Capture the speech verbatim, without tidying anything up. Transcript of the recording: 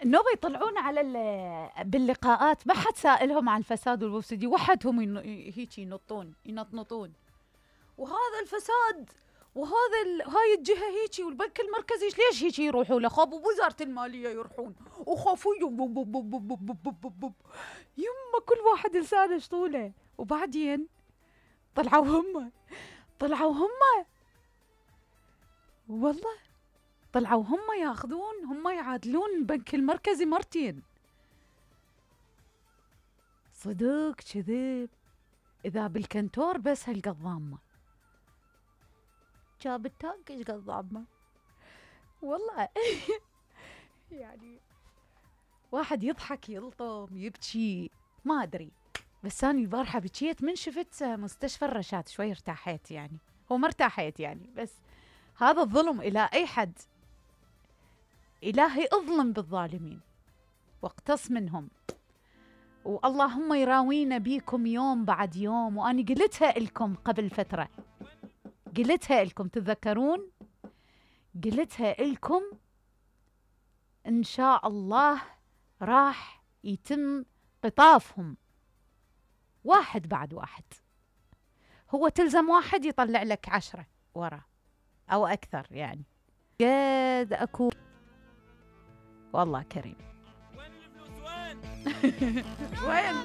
النوبة يطلعون على باللقاءات ما حد سائلهم عن الفساد والمفسدين، وحدهم ين... هيك ينطون ينطنطون، وهذا الفساد وهذا ال... هاي الجهة هيك والبنك المركزي ليش هيك يروحوا له؟ خاب ووزارة المالية يروحون وخافوا يما كل واحد لسانه شطوله. وبعدين طلعوا هم طلعوا هم والله طلعوا هم ياخذون هم يعادلون البنك المركزي مرتين. صدق كذب؟ إذا بالكنتور بس هالقضامة جاب التانك ايش قضامة والله. يعني واحد يضحك يلطم يبكي ما أدري، بس أنا البارحة بكيت من شفت مستشفى الرشاد شوي ارتاحيت، يعني هو ما ارتاحيت يعني، بس هذا الظلم إلى أي حد. إلهي اظلم بالظالمين واقتص منهم، واللهم يراوينا بيكم يوم بعد يوم. وأنا قلتها لكم قبل فترة، قلتها لكم تتذكرون؟ قلتها لكم إن شاء الله راح يتم قطافهم واحد بعد واحد. هو تلزم واحد يطلع لك عشرة ورا أو أكثر، يعني قد أكو والله كريم. وين الفلوس وين؟ وين؟